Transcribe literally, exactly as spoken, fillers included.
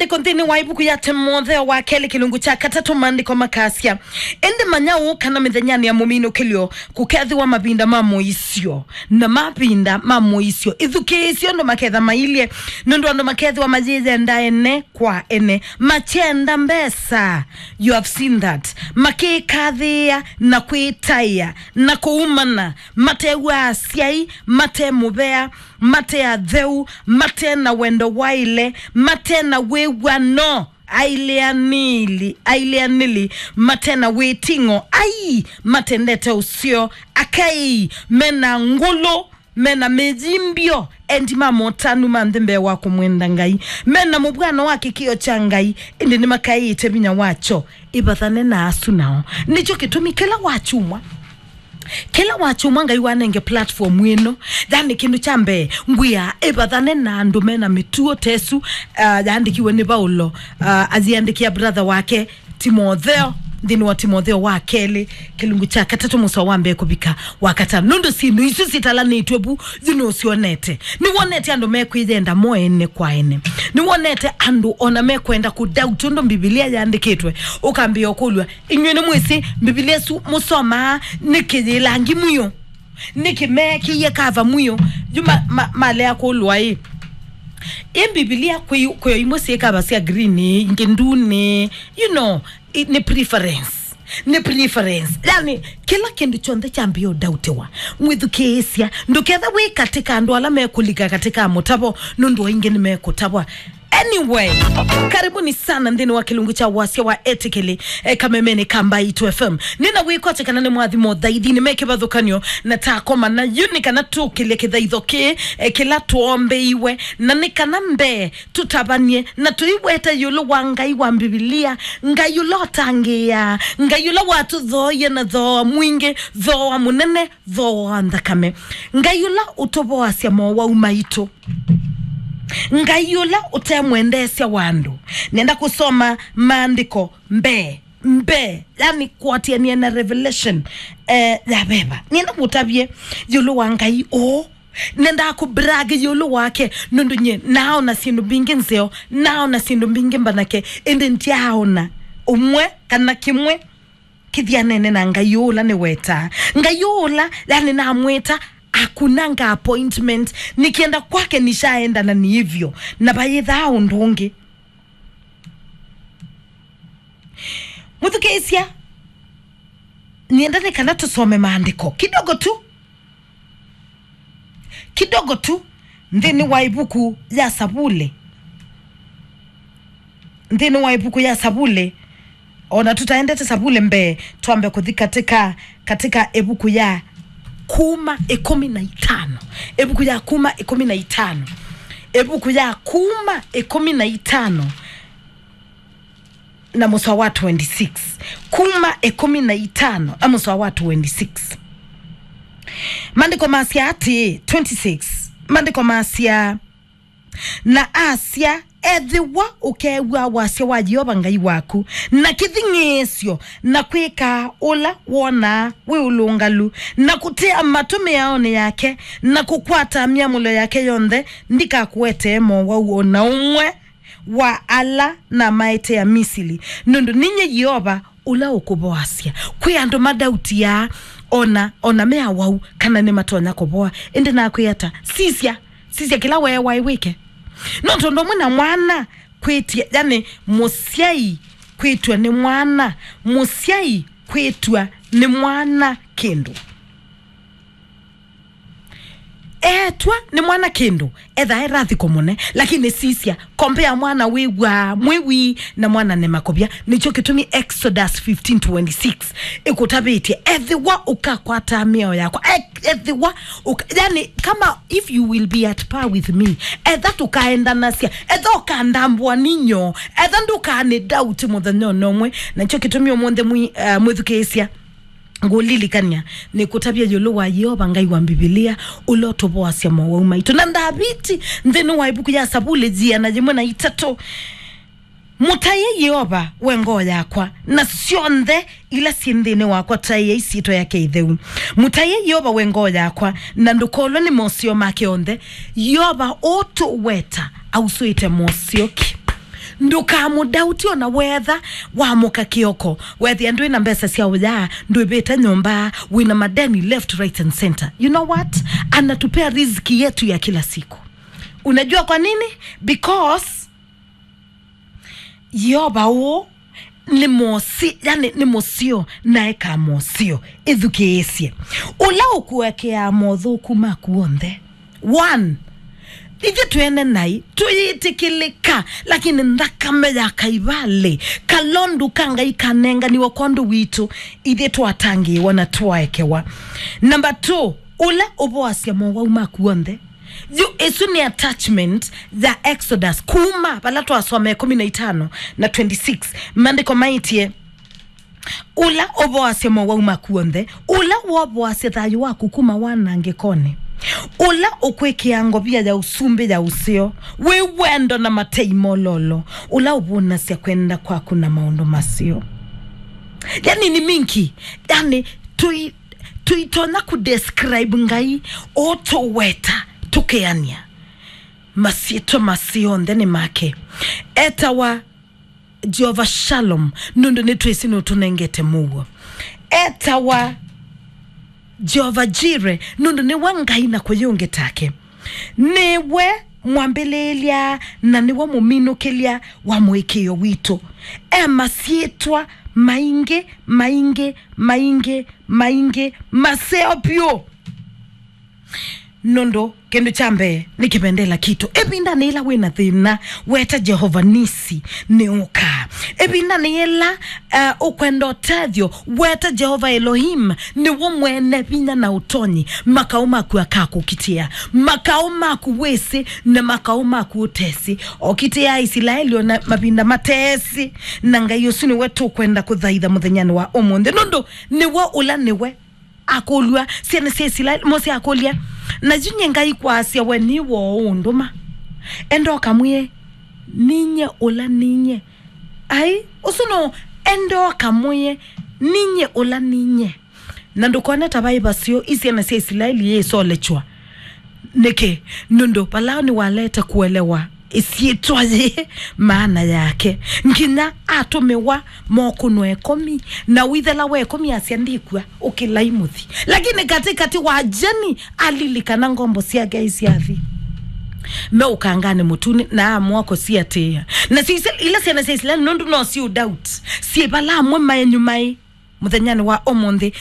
Iko nthĩnĩ wa ĩvuku ya Timotheo wa kelĩ kĩlungu kya katatũ, maandĩko makasya, ĩndĩ manya ũũ kana mĩthenyanĩ ya mũminũkĩlyo kũkethĩwa mavinda ma mũisyo, na mavinda ma mũisyo ĩthukĩĩsye ũndũ maketha mailye, nũndũ andũ makethĩwa mayĩyenda ene kwa ene, makyenda mbesa, you have seen that, makĩkathĩĩa na kwĩtaĩa na kũumana, matew'aa asyai, mate mũvea, mate atheu, mate na wendo waĩle, mate na wĩw'ano, ailĩanĩli, ailĩanĩli, mate na wĩting'o, ai, matendete ũseo, akai, mena ngũlũ, mena mĩyimbyo, endi ma motanu ma nthĩ mbee wa kũmwenda Ngai, mena mũvw'ano wa kĩkĩo kya Ngai, ĩndĩ nĩmakaĩĩte vinya wakyo. Ĩvathane na asu nao. Nĩkyo kĩtumi kĩla wakyumwa, kĩla wakyumwa Ngai wanenge platform ĩno, yani kĩndũ kya mbee ngwĩa ĩvathane na andũ mena mĩtuo tesu, uh, yaandĩkiwe nĩ Vaulo, uh, aziandĩkĩa brother wake Timotheo, nthĩnĩ wa Timotheo wa kelĩ kĩlungu kya katatũ mũsoa wa mbee kũvika wa katano, nũndũ syĩndũ isu sitalanĩtw'e vu yu nũsyonete. Nĩwonete andũ mekwĩyenda mo ene kwa ene. Nĩwonete andũ ona mekwenda kũdoubt ũndũ Mbivilia yandĩkĩtwe. Ũkambĩĩa ũkũlw'a, inyw'ĩ nĩmwĩsĩ Mbivilia ĩsu mũsomaa nĩ kĩyĩlangi mwĩũ? Nĩkĩ meekĩie kava mwĩũ? Yu ma, ma, malea kũlw'a ĩ, ĩ Mbivilia kwĩ, kwĩ o imwe syĩ kava sya green, ingĩ ndune, you know, i, nĩ preference. Nĩ preference. Yani, kĩla kĩndũ kyonthe kyambĩĩa ũdautiwa. Mwĩthukĩĩsya. Ndũketha wĩ katĩ ka andũ ala mekũlika katĩ ka mũtavo, nũndũ o ingĩ nĩmekũtavwa. Anyway, karibuni sana nthĩnĩ wa kĩlungu kya wasya wa etĩkĩli, eh, kamemeni ka Mbaitu F M. Nĩna wĩkwatya kana nĩ mwathimo thaithinĩ me kĩvathũkanyo na takoma na yu nĩ kana tũkĩlye kĩthaitho kĩĩ, eh, kĩla twombeiwe, na nĩ kana mbee tũtavany'e na tũiweta ĩũlũ wa Ngai wa Mbivilia, Ngai ũla ũtangĩĩaa, Ngai ũla watũthooie na thooa mwingĩ, thooa mũnene, thooa wa nthakame, Ngai ũla ũtũvoasya mowau maitũ, Ngai ũla ũte mwendeesya wa andũ. Nenda kũsoma maandĩko mbee, mbee, yani kũatĩanĩa na Revelation, eh, ya veva. Nenda kũtavye ĩũlũ wa Ngai ũũ. Nendaa kũbrag ĩũlũ wake, nũndũ nyie naona syĩndũ mbingĩ nzeo, naona syĩndũ mbingĩ mbanake, ĩndĩ ndyaaona ũmwe kana kĩmwe kĩthyanene na Ngai ũũ ũla nĩwetaa. Ngai ũũ ũla, yani, namwĩta, akunanga appointment, nikienda kwake nishaenda na ni hivyo, na vayĩthaa ũndũ ũngĩ. Mũthukĩĩsya, nienda nĩ kana tũsome maandĩko kidogo tu, kidogo tu, nthĩnĩ wa ĩvuku ya Savuli, nthĩnĩ wa ĩvuku ya Savuli, ona tũtaendete Savuli mbee, twambe kũthi katika, katika ĩvuku ya Kuma ĩkũmi na itano, ĩvuku ya Kuma ĩkũmi na itano, ĩvuku ya Kuma ĩkũmi na itano na mũsoa wa twenty-six. Kuma ĩkũmi na itano na mũsoa wa twenty-six. Maandĩko masya atĩĩ, twenty-six, maandĩko masya, na asya, ethĩwa ũkew'a wasya wa Yeova Ngai waku, na kĩthing'ĩĩsyo, na kwĩka ũla wonaa wĩ ũlũngalu, na kũtea matũ mĩaonĩ yake, na kũkwata myamũlo yake yonthe, ndikakũetee mowau o na ũmwe wa ala namaetea Misili, nũndũ ninyie Yeova ũla ũkũvoasya. Kwĩ andũ madautiaa ona, ona me awau kana nĩmatonya kũvoa. Ĩndĩ nakwĩa ata? Sisya, sisya kĩla weewaĩ wĩke. No tondũ ũmwe na mwana kwĩtya, yani mũsyai kwĩtw'a nĩ mwana, mũsyai kwĩtw'a nĩ mwana kĩndũ. Etw'a nĩ mwana kĩndũ, etha e rathiko mũne, lakini sisya, compare mwana wĩw'aa mwĩwi na mwana nĩ makũvya. Nĩkyo kĩtumi Exodus fifteen twenty-six ĩkũtavĩtye, ethĩwa ũkakwata mĩao yakwa, e-, ethĩwa ũka-, yani, kama if you will be at par with me, etha tũkaendanasya, etha ũkandambũa ninyo, etha ndũkanĩ doubt mũthenya ona ũmwe. Nakyo kĩtumi ũmũnthĩ mwi-, eh, mwĩthukĩĩsya, ngũlilikany'a, nĩkũtavya ĩũlũ wa Yeova Ngai wa Mbivilia, ũla ũtũvoasya mowau maitũ. Na Ndaviti, nthĩnĩ wa ĩvuku ya Savuli, ĩana yĩmwe na itatũ, mũtaĩe Yeova, we ngoo yakwa, na syonthe ila syĩ nthĩnĩ wakwa, taĩai syĩtwa yake ĩtheu. Mũtaĩe Yeova, we ngoo yakwa, na ndũkolwe nĩ moseo make onthe. Yeova ũtũweta ausũĩte moseo ki? Ndũkamũdauti ona wetha wamũka kĩoko, wethĩa ndwĩ na mbesa sya ũya, ndwĩvĩte nyũmba, wĩna madeni left, right and center. You know what? Anatupea riziki yetu ya kila siku. Unajua kwa nini? Because Yeova ũũ nĩ mũsi, yani nĩ mũseo na ekaa moseo. Ĩthukĩĩsye. Ũla ũkũekeaa mothũku maku onthe. One, ithyĩ twene naĩ tũyĩtĩkĩlĩka, lakini nthakame ya Kaivalĩ, kalondu ka Ngai kanenganiwe kwondũ witũ, ithyĩ twatangĩĩwa na twaekewa. Number two, ũla ũvoasya mowau maku onthe. Yu, ĩsu nĩ attachment ya Exodus, kuma vala twasoma ĩkũmi na itano na twenty-six. Maandĩko maĩtye, ũla ũvoasya mowau maku onthe, ũla wovoasya thayũ waku kuma wanangĩkonĩ, ũla ũkwĩkĩa ngovia ya ũsumbĩ ya ũseo, wĩ wendo na matei mololo, ũla ũvũnasya kwenda kwaku na maũndũ maseo. Yani ni mingi, yani tũi-, tũitonya kũdescribe Ngai ũũ tũweta, tũkeanĩa. Masyĩtwa maseo onthe nĩ make. Etawa Jehovah Shalom, nũndũ nĩtwĩsĩ nũtũnengete mũuo. Etawa Jehovah Jireh, nũndũ nĩwe Ngai na kũyĩ ũngĩ take. Nĩwe mwambĩlĩĩlya na nĩwe mũminũkĩlya wa mũĩkĩĩo witũ. E masyĩtwa maingĩ, maingĩ, maingĩ, maingĩ, maseo vyũ. Nũndũ kĩndũ kya mbee nĩ kĩvendela kitũ. Ĩvindanĩ yĩla wĩ na thĩna, weta Jehova Nisi, nĩũkaa. Ĩvindanĩ yĩla, uh, ũkwenda ũtethyo, weta Jehova Elohim, nĩwe mwene vinya na ũtonyi. Makaũ maku akakũkitĩa. Makaũ maku wĩsĩ na makaũ maku ũtesĩ. Okitĩa Aisilaeli ona mavinda matesĩ. Na Ngai ũsu nĩwe tũkwenda kũthaitha mũthenyanĩ wa ũmũnthĩ. Nũndũ nĩwe ũla nĩwe akũlw'a syana sya Isilaeli. Mose akũlya, "Na yu nyie Ngai kwasya we nĩ woo ũũndũma? Enda ũkamwĩe, 'Ninyie ũla ninyie.'" Ai, ũsu no, enda ũkamwĩe, "Ninyie ũla ninyie." Na ndũkone ta vaĩ vaseo, i syana sya Isilaeli yĩsolechwa. Nĩkĩ? Nũndũ Valao nĩwalete kũelewa ĩsyĩtwa yĩĩ maana yake, nginya atũmĩwa mokũnwa ĩkomi, na wĩthela wa ĩkomi asya, "Ndikw'a, ũkĩlai mũthi." Lakini katĩkatĩ wa ajeni alilikana ngombo syake isyathi me ũkanganĩ mũtune, na amũa kũsiatĩĩa. Na sisya ila syana sya Isilaeli, nũndũ no syĩ doubt, syĩ vala amwe maenyu maĩ mũthenyanĩ wa ũmũnthĩ.